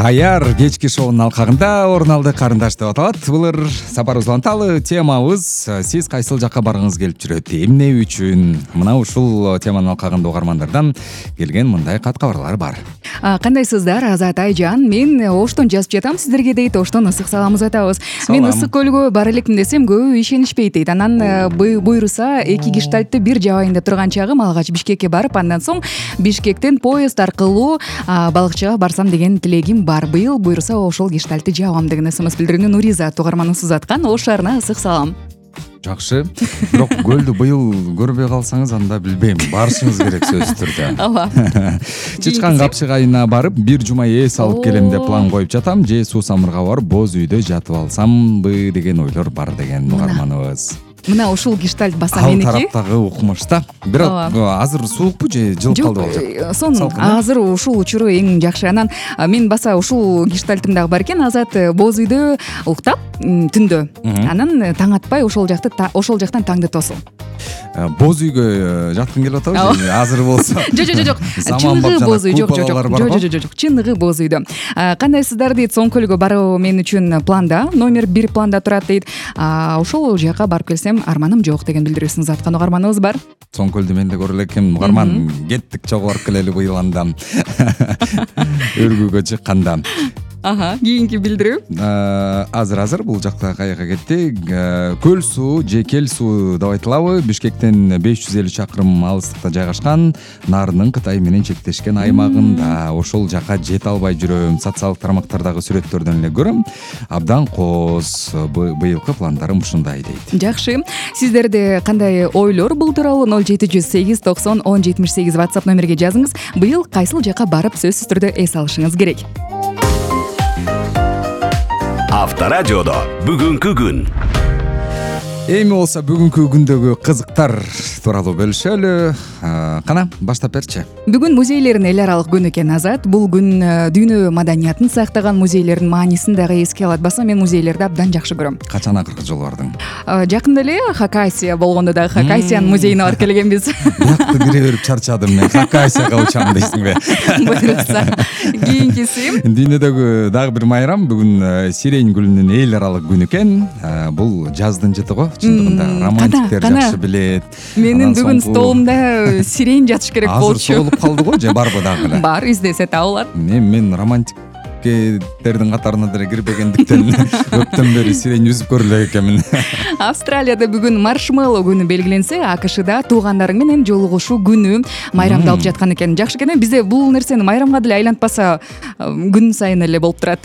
Каяр кечки шоунун алкагында орун алды карындаш деп аталат. Булар сапар узанталы темабыз. Сиз кайсыл жакка баргыңыз келип жүрөт? Эмне үчүн? Мына ушул теманын алкагында угармандардан келген мындай кат кабарлар бар. Кандайсыздар, Азат Айжан? Мен Оштон жазып жатам сиздерге дейт. Оштон ысык саламыз атабыз. Мен ысык көлгө бара элекмин десем, көбү ишенишпейт дейт. Анан буйруса 2 гештальтты бир жабайында турган чагым алгач Бишкекке барып, андан соң Бишкектен поезд аркылуу балыкчыга барсам деген тилегим бар. Быйыл буйруса ошол гештальтты жабам деген СМС билдирүүнү Нуриза угарманыбыз узаткан. Ош шаарына ысык салам. Жакшы. Бирок көлдү быйыл көрбөй калсаңыз анда билбейм, барышыңыз керек сөзсүз түрдө. Ооба. Чычкан Капчык айына барып, бир жума эс алып келем деп план коюп жатам. Же суу самырга барып, боз үйдө жатып алсамбы деген ойлор бар деген угарманыбыз. Мына ушул гештальт баса меники. Ал тараптагы укмуш да. Бирок азыр суукпу же жылып калды болжок? Сонун. Азыр ушул учуру эң жакшы. Анан мен баса ушул гештальтым дагы бар экен. Азат боз үйдө уктап түндө. Анан таң атпай ошол жактан таңды тосул. Боз үйгө жаткың келип атабы? Азыр болсо. Жок. Чыныгы боз үй. Жок. Чыныгы боз үйдө. Кандайсыздар дейт, Соңкөлгө баруу мен үчүн планда, номер 1 планда турат дейт. Ошол жака барып келсем арманым жок деген билдирүүсүн заткан угарманыбыз бар. Соңкөлдү мен да көрө элекмин. Угарман кеттик чогуу барып келели быйыл анда. Өргүүгө чыкканда. Кийинки билдирүү. Азыр бул жакта каяка кеттик? Көл суу же кел суу деп айтылабы? Бишкектен 550 чакырым алыстыкта жайгашкан Нарынын Кытай менен чектешкен аймагында. Ошол жака жете албай жүрөм. Социалдык тармактардагы сүрөттөрдөн эле көрөм. Абдан кооз. Быйылкы пландарым ушундай дейт. Жакшы. Сиздерде кандай ойлор бул тууралуу 0708 90 10 78 WhatsApp номерге жазыңыз. Быйыл кайсыл жака барып сөзсүз түрдө эс алышыңыз керек. Авторадиодо бүгүнкү күн. Эми болсо бүгүнкү күндөгү кызыктар тууралуу бөлүшөлү. Кана баштап берчи. Бүгүн музейлердин эл аралык күнү экен, Азат. Бул күн дүйнө маданиятын сактаган музейлердин маанисин дагы эске алат. Баса мен музейлерди абдан жакшы көрөм. Качан акыркы жолу бардың? Жакында эле Хакасия болгондо дагы Хакасиянын музейине барып келгенбиз. Бакты кире берип чарчадым мен. Хакасияга учам дейсиңби? Буйрукса. Кийинкиси. Дүйнөдөгү дагы бир майрам бүгүн сирень гүлүнүн эл аралык күнү экен. Бул жаздын жыты го. Чындыгында романтиктер жакшы билет. Менин бүгүн столумда сирень жатыш керек болчу. Азыр соолуп калды го же барбы дагы эле? Бар, издесе табылат. Мен романтиктердин катарына деле кирбегендиктен көптөн бери сирень үзүп көрүлөт экенмин. Австралияда бүгүн маршмеллоу күнү белгиленсе, АКШда туугандарың менен жолугушуу күнү майрамдалып жаткан экен. Жакшы экен, бизде бул нерсени майрамга деле айлантпаса күн сайын эле болуп турат.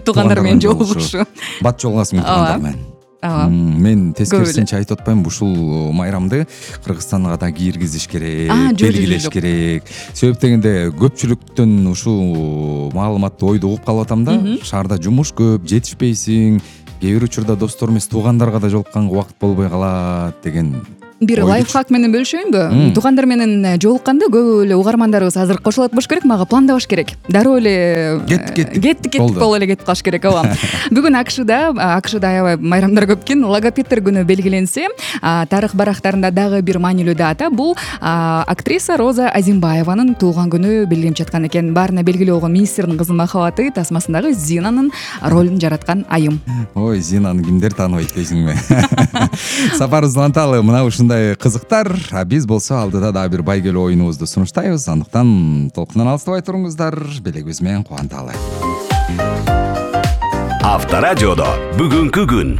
Туугандар менен жолугушуу. Бат жолугасың туугандар менен. Мен тескерисинче айтып атпаймынбы, ушул майрамды Кыргызстанга да киргизиш керек, белгилеш керек. Себеп дегенде көпчүлүктөн ушул маалыматты ойду угуп калып атам да. Шаарда жумуш көп, жетишпейсиң. Кээ бир учурда достор эмес туугандарга да жолукканга убакыт болбой калат деген. Бир лайфхак менен бөлүшөйүнбү? Туугандар менен жолукканда көп эле угармандарыбыз азыр кошулат болуш керек, мага пландабаш керек. Дароо эле кеттик боло эле кетип калыш керек, ооба. Бүгүн АКШда аябай майрамдар көп экен. Логопедтер күнү белгиленсе, тарых барактарында дагы бир маанилүү дата. Бул актриса Роза Азимбаеванын туулган күнү белгиленип жаткан экен. Баарына белгилүү болгон министрдин кызынын махабаты тасмасындагы Зинанын ролун жараткан айым. Ой, Зинаны кимдер тааныбайт дейсиңби? Сапар узанталы мына ушундай кызыктар. Биз болсо алдыда дагы бир байгелүү оюнубузду сунуштайбыз. Андыктан толкундан алыстабай туруңуздар, белегибиз менен кубанталы. Авторадиодо бүгүнкү күн.